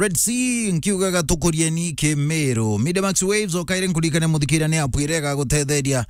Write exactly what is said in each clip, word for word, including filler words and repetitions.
Red Sea, nkiugaga tukurieni Kimiru. Media Max Waves, okaire nkuririkane muthikiria ni app iria igagutetheria,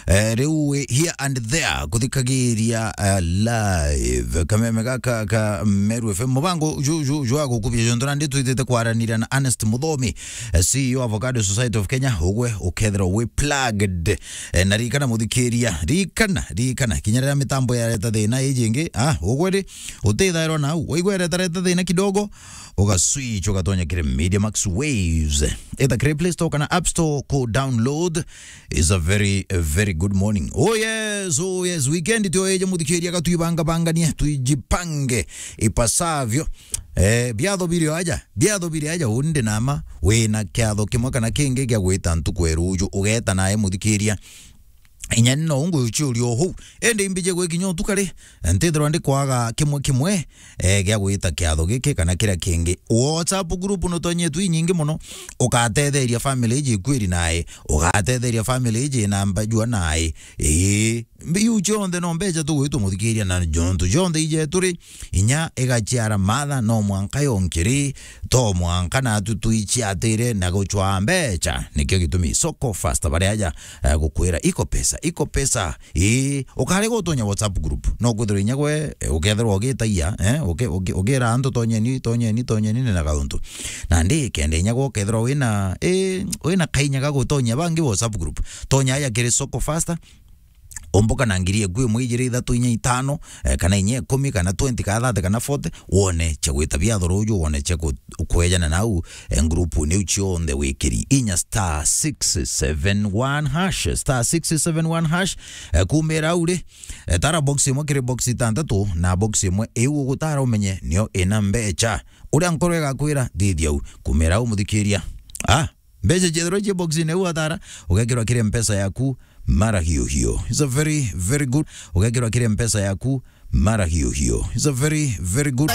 eh, riu wi here and there kuthikagiria, eh, live. Kameme gaka ka Meru F M. Mubango ju, ju, ju wa gukubia jontu nandi twitite kwaranira na Ernest Muthomi, eh, C E O Avocado Society of Kenya, ugwe ukethirwa wi plugged. Eh, na ririkana muthikiria, ririkana, ririkana, kinya riria mitambo yareta thina iji ingi, ah, ugwe ri, utithairwa nau, waigua iretareta thina kidogo, uga switch, ugatonya kiri Media Max Waves. Either kiri Play Store kana App Store, ku download. Is a very, a very good morning. Oh yes, oh yes, weekend tio eje muthikiria, gatwibanga banganie, tuijipange ipasavyo. Eh, biatho biri aja, biatho biri aja, undi nama, wina kiatho kimwe kana kingi gia gwita ntuku ya ruju, ugeta nae muthikiria. Inya ni no ungu uciuria uhuu. Indi imbije gwikinya utuku ri, ntithirwa ndi kwaga kimwe kimwe, eh, gia gwita kiatho giki kana kiria kingi. WhatsApp group nutonyetwe inyingi muno, ugatetheria family iji ikwiri nae, ugatetheria family iji na mbajua nae. Ii, mbiu cionthe no mbeca tugwitwa muthikiria, na jontu cionthe ijetu ri, inya igaciara matha, no mwanka yonkiri, to mwanka natu tuiciatire na gucwaa mbeca. Nikio gitumi Soko Fast bari aja, eh, gukwira iko pesa, iko pesa. Ii, ukarega utonya WhatsApp group. No kwithirwa inya gwe, eh, ukethirwa ugitagia, eh, uki-, uki-, ukira antu tonyeni, tonyeni, tonyeni, ni na gauntu. Nandi kenda inya gwe ukethirwa wina, eh, wina kainya ga gutonya bangi WhatsApp group, tonya aja kiri Soko Fast, umbuka na ngiri eku imwe, ijiri, ithatu, inya, itano, eh, kana inya ikumi, kana twenty, kana thirty, kana forty, wone cia gwita biatho ruju, wone cia ku-, kwejana nau, eh, group niu cionthe wikiri. Inya star six seven one hash, star six seven one hash, eh, kumira au ri, eh, tara box imwe kiri box itantatu, na box imwe iu ugutara umenye nio ina mbecha. Uria nkoro igakwira, thithia u, kumira au muthikiria. Ah, mbeca ciethirwa cie box-ini iu atara, ugekirwa kiri mpesa yaku mara hiyo hiyo. It's a very, very good. Ugekirwa kiri mpesa yaku mara hiyo hiyo. It's a very, very good.